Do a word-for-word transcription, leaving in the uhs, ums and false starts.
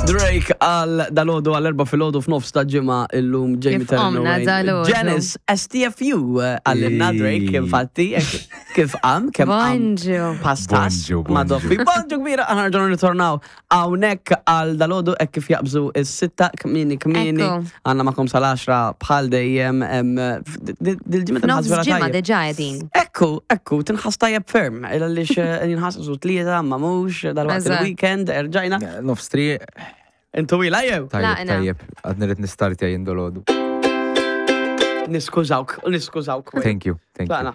Drake għal dalgħodu, għal erbgħa filgħodu f'nofs ta' ġimgħa illum, Jamie Kif qomna dalgħodu. Janice S T F U eh, għallinna Drake infatti kif qam, kemm qam Bonġu. pastas Bonġu, ma' bonġu. doffi. Bonġu kbira, aħna nerġgħu nirritornaw hawnhekk għal dalgħodu hekk kif jaqbżu is-sitta kmieni kmieni. Ekku. Għandna magħkom sal-għaxra bħal dejjem em, dil-ġimgħa tinħass Nofs vera ġimgħa tajjeb. diġà qegħdin. Ekku, ekku, tinħass tajjeb ferm. Għaliex jinħass su tlieta, ma mhux, dal-waqt Eżatt. il-weekend, erġajna. Nofs tri, Intu ila jew? tajjeb, Laqna. tajjeb, għadni rrid nistartja jien dalgħodu. Niskużawk, niskużawk. Thank you, thank you. Tlaqna.